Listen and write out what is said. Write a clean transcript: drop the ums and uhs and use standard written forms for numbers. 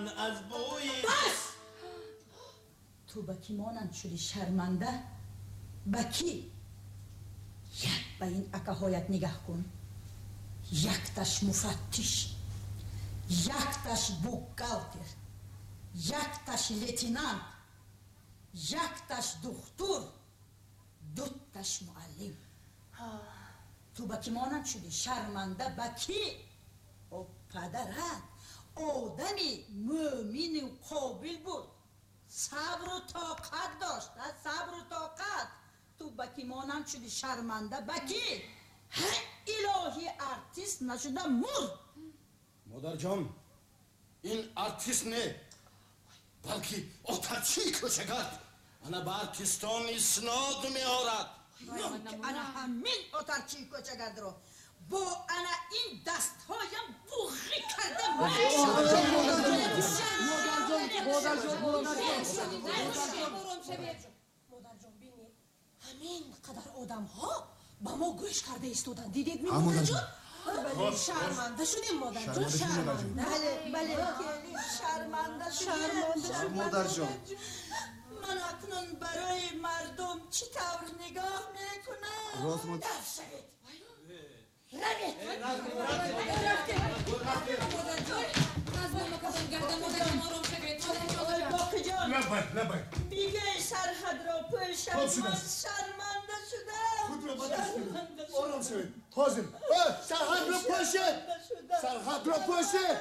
Ман аз бӯи Бас! Ту ба кӣ монанд шудӣ, шарманда? Ба кӣ? Як ба ин акаҳоят нигаҳ кун. Якташ муфаттиш, якташ бухгалтер, якташ лейтенант, якташ духтур, дуташ муаллим. Ту ба кӣ монанд шудӣ, шарманда, ба кӣ? О, падарат одами мӯмину қобил буд, сабру тоқат дошт, сабру тоқат. Ту ба кӣ монанд шудӣ, шарманда, ба кӣ? Илоҳӣ, артист нашуда мурд. Модарҷон, ин артист не, балки отарчии кӯчагард. Ана ба артистон иснод меорад. Ана ҳамин отарчии кӯчагардро бо ана ин дастҳоям буғӣ карда. Модарҷон, бинед, ҳамин қадар одамҳо ба мо гӯш карда истоданд. Дидед, модарҷон? Шарманда шудем, модарҷон, шарманда. Бале, бале, шарманда шудем. Модарҷон, ман акнун барои мардум чӣ тавр нигоҳ мекунам? Рост. Дар шавед, равед. Боқиҷон. Лаббай, лаббай. Бигӯй, сарҳадро пӯшад. Ман шарманда шудам. Худро ба даст. Ором шавед, ҳозир. Сарҳадро пӯшед, сарҳадро пӯшед.